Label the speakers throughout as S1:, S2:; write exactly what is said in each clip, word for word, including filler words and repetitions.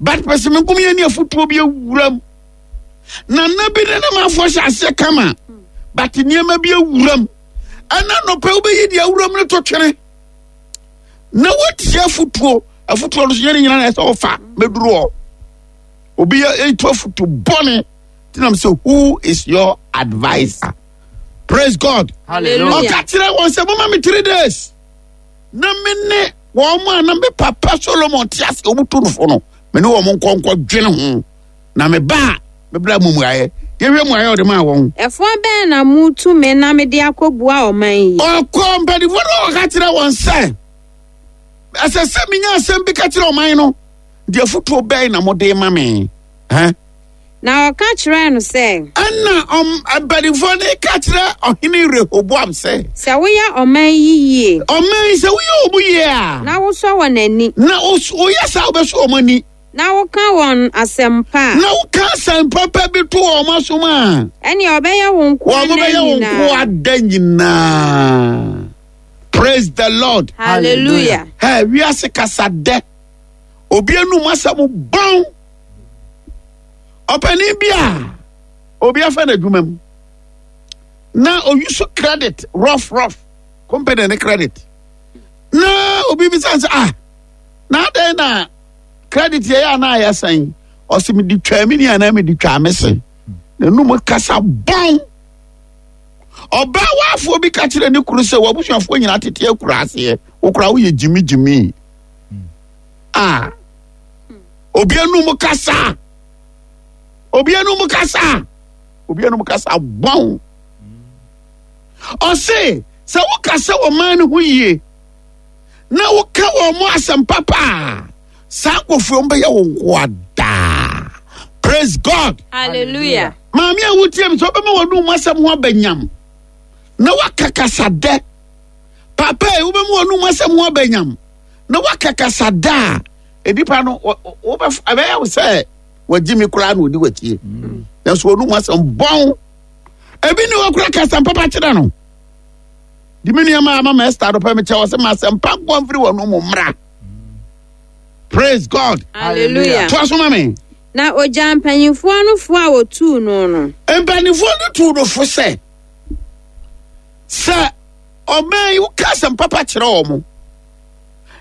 S1: But pɛsɛ me nkom yɛ ne afotuo bi awuram. Nana bi ne ne manfoɔ hyɛ aseɛ kama, but nneɛma bi awuram. Ɛna nɔpɛ wobɛyi deɛ awuram no to twene na woatie afotuo. Afotuo no so nyɛ ne nyina na ɛsɛ ɔfa mɛduru hɔ. Obi yɛ ɛtu afotu bɔne tinam sɛ, "Who is your adviser?" Praise God.
S2: Hallelujah.
S1: Ɔka kyerɛ wɔn sɛ, "Moma me three days na me ne wɔn a na me papa Solomon te ase wɔn tu no fo no, me ne wɔn nkɔnkɔ dwene ho na me ba a mebra mu mmuayɛ." Yɛhwɛ mmuayɛ ɔde maa wɔn.
S2: Ɛfoɔ bɛn na mutu me na mede akɔbua ɔman yi?
S1: Ɔkɔ mpanimfoɔ no, ɔka kyerɛ wɔn sɛ ɛsɛ sɛ menya asɛm bi ka kyerɛ ɔman no deɛ, afotuo bɛn na mode ma me? Ɛn?
S2: Na ɔka kyerɛɛ no sɛ,
S1: Ɛna ɔm mpanimfoɔ no ka kyerɛ ɔhene Rehoboam sɛ,
S2: sɛ woyɛ ɔman yi yie,
S1: ɔman yi, sɛ woyɛ ɔmo yie a,
S2: na wosɔ wɔn ani,
S1: na wos- woyɛ saa, wobɛso ɔmo ani,
S2: na woka wɔn asɛm pa a,
S1: na woka asɛm papa bi to wɔn asom a,
S2: ɛnea ɔbɛyɛ wo nkoa
S1: wɔn
S2: nna
S1: bɛyɛ wo nkoa
S2: nyinaa.
S1: da nyinaa. Praise the Lord.
S2: Hallelujah.
S1: Ɛ wiase kasa dɛ, obi anum asɛm bɔn. Ɔpanin bi a obi afa n'adwuma mu na oyi so credit rough rough company ne credit, na obi bi san sɛ, "Ah, na adɛn na credit yɛ yɛ anaa yɛ sɛn?" Ɔsɛ, "Mi di twa mi ni anaa mi di twa mi se." N'anum kasa bɔn. Ɔbaa waafoɔ bi ka kyerɛ ne kuru sɛ, "W'abusuafoɔ nyinaa tete akura aseɛ, wokura woyɛ gyimigyimi." A obi anum kasa, obi anum kasa, obi anum kasa bɔn. Ɔse sɛ wokasa wɔ man no ho yie na woka wɔn mo asɛm papa a, saa nkurɔfoɔ bɛyɛ wo nkoa daa. Praise God.
S2: Hallelujah.
S1: Maame a wotie mi, sɛ wobɛma w'anum asɛm ho abɛnyam na woaka kasa dɛ, papa yi, wobɛma w'anum asɛm ho abɛnyam na woaka kasa dɛ a, nipa no wɔ- wɔ- wobɛf- ɛbɛyɛ wo sɛ wagyi mi koraa na odi w'akyie, nanso w'anum asɛm bɔn. Ebi ne wɔkora kasa papa kyerɛ no de. Me nneɛma ama ma Esther dɔpɛ me kyɛ wɔ sɛ ma asɛm pa nkɔ mfiri w'anum mmra. Praise God.
S2: Hallelujah.
S1: Toa so ma me.
S2: Na ogya mpanyinfoɔ no fo a wotuu no no.
S1: Mpanimfoɔ no tuu no fo sɛ sɛ ɔman yi, woka asɛm papa kyerɛ wɔ mo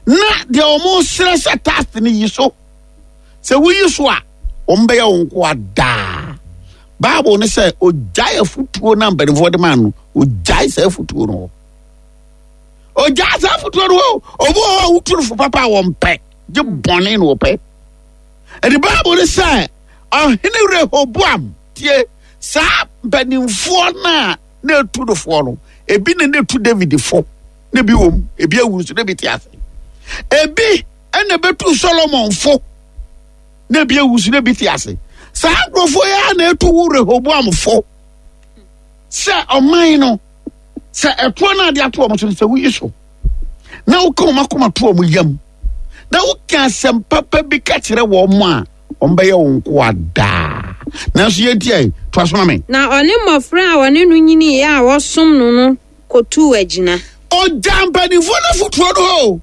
S1: na deɛ ɔmo srɛ sɛ tax no yi so, sɛ woyi so a, wɔn bɛyɛ wɔn nkoa daa. Bible no sɛ ogyae afotuo na mpanimfoɔ de maa no, ogyae saa afotuo no hɔ, ogyae saa afotuo no hɔ. Obi wɔ hɔ a wotu no fo papa a, wɔn pɛ gye bɔne na wɔpɛ. Ɛde Bible no sɛ ɔhene Rehoboam tie saa mpanimfoɔ no a na etu no foɔ no. Ebi na na etu David fo na ebi wɔ mu, ebi awu nso na ebi te ase. Ebi ɛna ebetu Solomon fo na ebi awu nso na ebi te ase. Saa nkurɔfoɔ yi a na etu wo Rehoboam fo sɛ ɔman no, sɛ ɛtoɔ no ade ato wɔn so no, sɛ woyi so na woka wɔn akoma to wɔn yam na woka asɛm papa bi ka kyerɛ wɔn a, wɔn bɛyɛ wɔn nkoa daa. Nanso yɛntie, toa so ma me.
S2: Na ɔne mmɔfra a wɔne no nyiniiɛ a wɔsom no no kɔtuu agyina.
S1: Ɔgya mpanimfoɔ no fotoɔ no hɔ.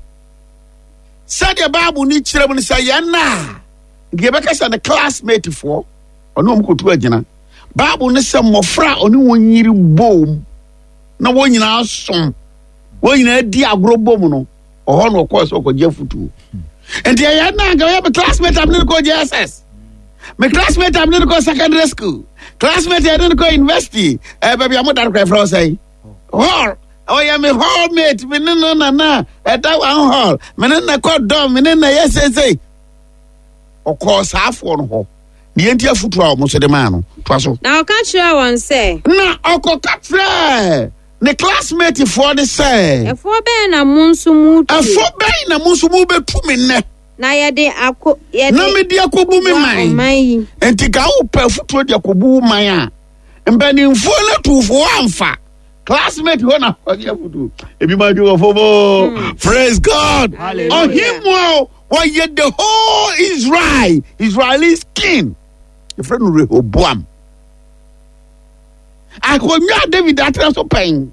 S1: Sɛdeɛ Bible no kyerɛ mu no, sɛ yɛn na nka yɛbɛka sɛ ne classmate foɔ, ɔne wɔn kɔtu agyina. Bible no sɛ mmɔfra a ɔne wɔn nyiri bom na wɔn nyinaa som, wɔn nyinaa di agorɔ bom no, ɔhɔ na ɔkɔɔ sɛ ɔkɔgye afotuo. Nti ɛyɛ na nka ɔyɛ me classmate a mene no kɔ J S S, me classmate a mene no kɔ secondary school, classmate a yɛne no kɔ university, ɛɛ baabi a mo da no kora, ɛfrɛ wo sɛn, hall, ɔyɛ me hall mate, me ne no nana ɛda one hall, me ne no kɔ dɔm, me ne no yɛ seesei. Ɔkɔɔ saafoɔ no hɔ ne yɛnti afotuo a ɔmo nso de maa no. Toa so.
S2: Na ɔka kyerɛɛ wɔn sɛ,
S1: Na ɔkɔka kyerɛɛ ne classmate foɔ ne sɛ,
S2: ɛfoɔ bɛn na mo nso mutu?
S1: "Ɛfo bɛn na mo nso mobɛtu me nnɛ
S2: na yɛde akɔ yɛde
S1: na mede akɔbu me
S2: boa
S1: man?"
S2: Ɔman yi.
S1: Nti ka wopɛ afotuo de akɔbu wo man a, mpanimfoɔ no tufoɔ amfa classmate hɔ na ɔgye afotuo. Ebi ma dwe wɔ fom. Praise God.
S2: Hallelujah.
S1: Ɔhemmoa wɔyɛ the whole Israel, Israeli king, yɛfrɛ no Rehoboam. Akonnwa a David atena so pɛn,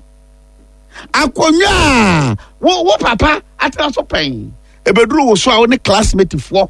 S1: akonnwa a wo wo papa atena so pɛn, ebeduru wo so a, wo ne classmate foɔ